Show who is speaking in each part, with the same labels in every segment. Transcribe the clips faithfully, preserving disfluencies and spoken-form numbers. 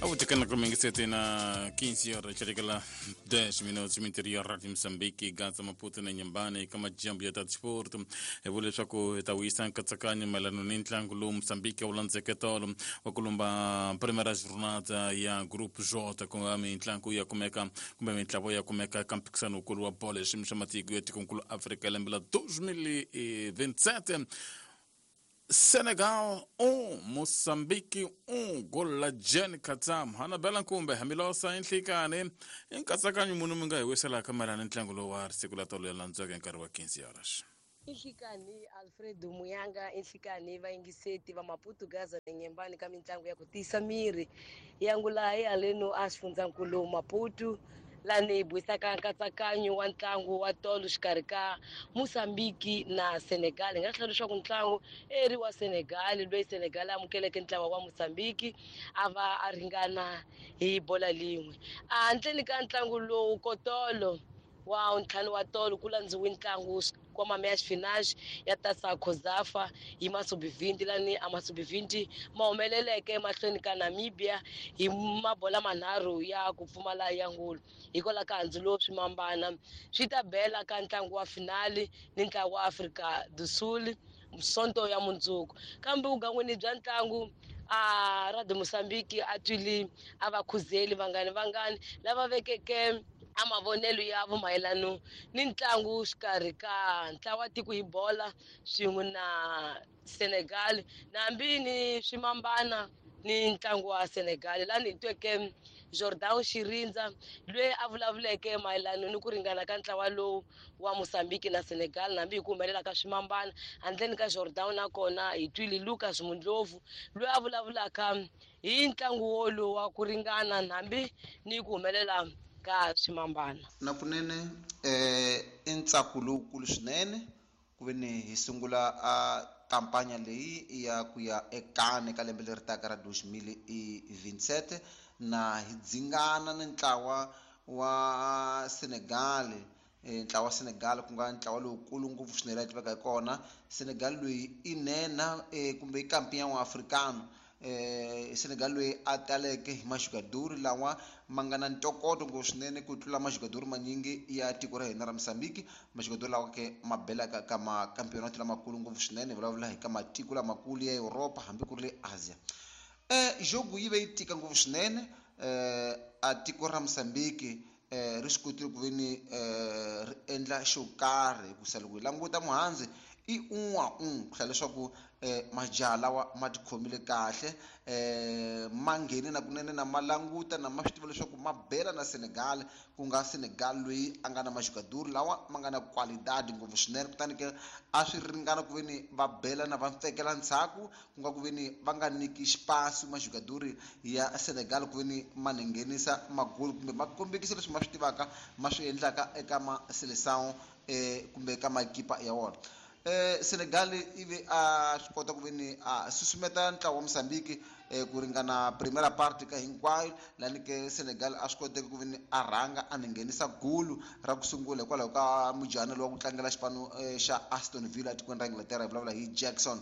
Speaker 1: Avutikana kumengisete na quinze horas chirikala dez minutos interior de Moçambique Gaza Maputo na Inhambane kama jambo ya transporto e vule leswaku hi ta wisa nkatsakanyo mayelana ni ntlangu lowu Moçambique wu landzeke tolo wa kulumba primeira jornada ya Grupo J ku nga mitlangu ya kumeka kumbe mitlawa ya kumeka eka mphikizano wukulu wa bolo ya xiyimo xa matiko ya tikonkulu Afrika lembe la dois mil e vinte e sete. Senegal um, Moçambique um, gol la Jen Katam. Hanabela Nkumbe, Hamilosa Nhlikane, nkatsakanyo munhu mi nga hi wiselaka mayelana ni ntlangu lowu wa siku la tolo ya landzeke hi nkarhi wa quinze horas.
Speaker 2: Inhlikani Alfredo Muyanga, inhlikani vayingiseti va Maputo Gaza na Inhambane ka mitlangu ya ku tiyisa miri ya ngula ya leno a xifundzankulu Maputo lani hi burisaka nkatsakanyo wa ntlangu wa tolo xikarhi ka Moçambique na Senegal. Hi nga tlhela leswaku ntlangu eri wa Senegal loyi Senegal amukeleke ntlawa wa Moçambique a va a ringana hi bola lin'we. Handleni ka ntlangu lowu kotolo wa ntlhanu wa tolo ku landziwe ntlangu wa meias finais ya Taça COSAFA hi masubivhinti lani a masubivhinti ma humeleleke emahlweni ka Namibia hi mabola manharhu ya ku pfumala ya ngulu. Hikwalaho ka handzu lowu swimambana swi ta bela ka ntlangu wa finali ni ntlangu wa Afrika do Sul Sonto ya mundzuku. Kambe vugangwini bya ntlangu a Radio Moçambique a twile a va khuzeli vangani vangani lava vekeke a mavonelo ya vo mayelano ni ntlangu xikarhi ka ntlawa tiko hi bola swin'we na Senegal nambi ni swimambana ni ntlangu wa Senegal. Lani hi tweke Jordan Shirindza loyi a vulavuleke mayelano ni ku ringana ka ntlawa lowu wa Moçambique na Senegal nambi hi ku humelela ka swimambana. Handleni ka Jordan nakona hi twile Lucas Mundlovu loyi a vulavulaka hi ntlangu wolowu wa ku ringana nambi ni ku humelela ka swimambana.
Speaker 3: Na kunene eh i ntsako lowukulu swinene ku ve ni hi sungula a kampanya leyi ya ku ya ekane ka lembe leri taka ra dois mil e vinte e sete na hi dzingana ni ntlawa wa Senegal. Ntlawa wa Senegal ku nga ntlawa lowukulu ngopfu swinene la tiveka hi kona. Senegal loyi i nhenha kumbe i kampion wa africano. Eh Senegal loyi a taleke hi majugadori lawa ma nga na ntokoto ngopfu swinene ku tlula majugadori manyingi ya tiko ra hina ra Moçambique. Majugadori lawa ke ma belaka ka makampeonato lamakulu ngopfu swinene, hi vulavula hi ka matiko lamakulu ya Europa hambi ku ri le Asia. Eh jogo yi ve yi tika ngopfu swinene eh a tiko ra Moçambique eh ri swi kotile ku ve ni eh ri endla xo karhi hikusa loko hi languta muhandzi i un a un ku hlaya leswaku eh majaha lawa ma tikhomile kahle eh ma nghene na kunene na ma languta na ma swi tiva leswaku ma bela na Senegal ku nga Senegal loyi a nga na majugadori lawa ma nga na qualidade ngopfu swinene. Kutani ke a swi ringana ku ve ni va bela na va mpfekela ndzhaku ku nga ku ve ni va nga nyiki xipasi majugadori ya Senegal ku ve ni ma ni nghenisa magoli kumbe ma kombekisa leswi ma swi tivaka ma swi endlaka eka ma seleção eh kumbe eka makipa ya wona. Eh Senegal ivi a swi kota ku ve ni a susumeta ntlawa wa Moçambique eh ku ringana primera parte ka hinkwayo lani ke Senegal a swi koteke ku ve ni a rhanga a ni nghenisa gulu ra ku sungula hikwalaho ka mujana lowa ku tlangela xipano xa Aston Villa etikweni ra Inglaterra, hi vulavula hi Jackson.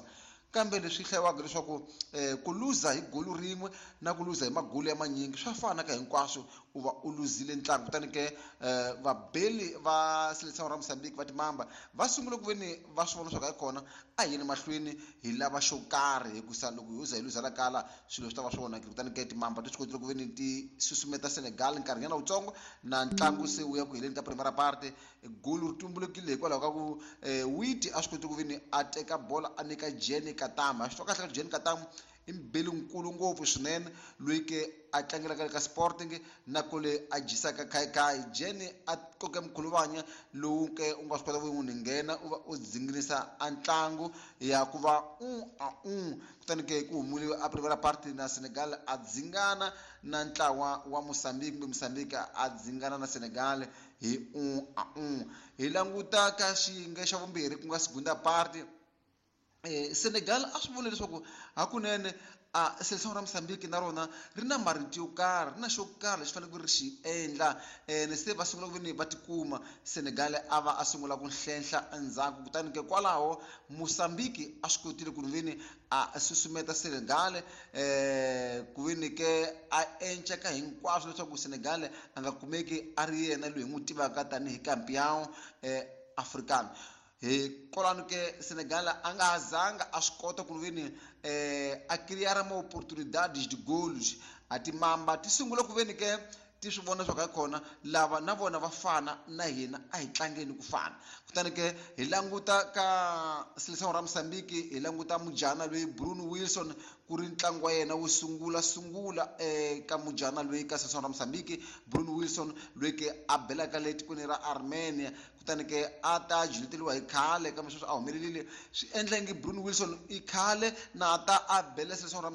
Speaker 3: Kambe leswi hlayiwaka leswaku eh ku luza hi gulu rin'we na ku luza hi magulu ya manyingi swa fana ka hinkwaswo u va u luzile ntlangu. Kutani ke eh vabeli va seleção ra Moçambique va timamba va sungule ku ve ni va swi vona leswaku hayi kona a hi yeni mahlweni hi lava xo karhi hikusa loko ho za hi luza la kala swilo swi ta va swi onhakile. Kutani ke timamba ti swi kotile ku ve ni ti susumeta Senegal nkarhinyana wutsongo na ntlangu se wu ya ku heleni ka primera parte. Gulu ri tumbulukile hikwalaho ka ku eh Witi a swi kotile ku ve ni a teka bola a nyika Jenny Katama. A swi twa kahle ka Jenny Katama i mbeli nkulu ngopfu swinene loyi ke a tlangelaka ka Sporting na kole a dyisaka khayikhayi. Jenny a koke mkhuluvanya lowu ke u nga swi kota ku n'wi nghena u va u dzinginisa a ntlangu ya ku va un a un. Kutani ke ku humuriwe a primera parte na Senegal a dzingana na ntlawa wa Moçambique kumbe Moçambique a dzingana na Senegal hi un a un. Hi languta ka xiyenge xa vumbirhi ku nga segunda parte. Eh Senegal a swi vona leswaku hakunene a Seleção ra Mozambique na rona ri na marito yo karhi, ri na xo karhi lexi faneleke ri xi endla. Ene se va sungula ku veni va tikuma Senegal a va a sungula ku hlenhla endzhaku, kutani ke kwalaho Mozambique a swi kotile ku veni a susumeta Senegal eh ku veni ke a enceka hinkwaswo leswaku Senegal a nga kumeki a ri yena loyi hi n'wi tivaka tanihi campeão eh africano. Hi kwalano ke Senegal a nga zanga a swi kota ku veni eh a criar uma oportunidades de golos. A timamba ti sungula ku veni ke ti swi vona swa ka khona lava na vona va fana na hina, a hi tlangeni ku fana. Kutani ke hi languta ka Seleção ra Mozambique, hi languta mujana loyi Bruno Wilson, ku ri ntlangu wa yena wo sungula sungula eka mujana loyi ka Seleção ra Mozambique, Bruno Wilson loyi ke a belaka le tikweni ra Armenia. Kutani ke a ta jileteriwa hi khale kambe sweswi a humelerile, swi endla ngi Bruno Wilson i khale na ta a bela Seleção ra